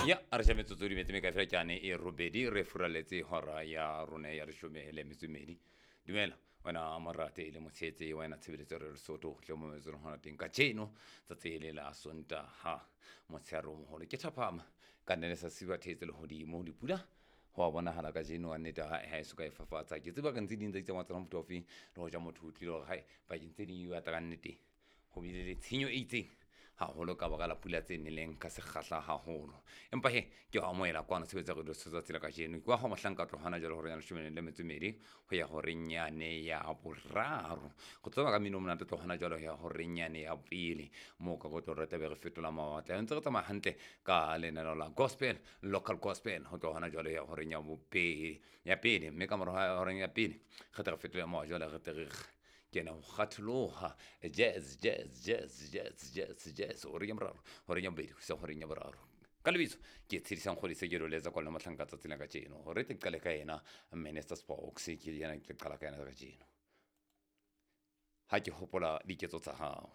Ya a re ja metsotso di metse mekae fela ke ane e robedi re furaletse hora ya rona ya leshome le metso e mmedi. Dumela wena morate e le motshehetse wena tshebeletso re Lesotho tle mo metsong hona teng kajeno tsatsi le la Sontaha motshehare o moholo ke thapama ka nne le sa siba thetse lehodimo dipula ho a bonahala kajeno wa nnete ha ha e soka e fafatsa. Ke tseba ka ntse ding tsa itsamaya tsona mofuta ofeng le hoja motho o tlile hore hae pakeng tse ding e batla ka nnete ho bile le tshenyo e itseng haholo ka baka la pula tse neleng ka sekgahla haholo. Empa he ke o amohela kwano tshebetso ya radio tsatsi la kajeno. Ke wa ho mohlanka tlo hona jwale hore ya leshome le metso e mmedi ho ya horeng yane ya boraro. Go tseba ka mmino o monate tlo hona jwale ho ya horeng yane ya pele moo ka go tlo re tlabe re fetola mawatle. Ntse re tsamaya hantle ka lenaneo la gospel, local gospel ho tloha hona jwale ho ya horeng ya bobedi ya pele, mme ka mora horeng ya pele re tle re fetole mowa jwale re tle re kena ho kgatholoha jazz, jazz, jazz, jazz, jazz, jazz horeng ya boraro, horeng ya bobedi ho isa horeng ya boraro. Ka lebitso ke Tshedisang Kgodise ke lo letsa kwano mohlanka tsatsi la kajeno hore tle qale ka yena Minister Spokes ke yena ke qala ka yena kajeno. Ha ke hopola diketso tsa hao.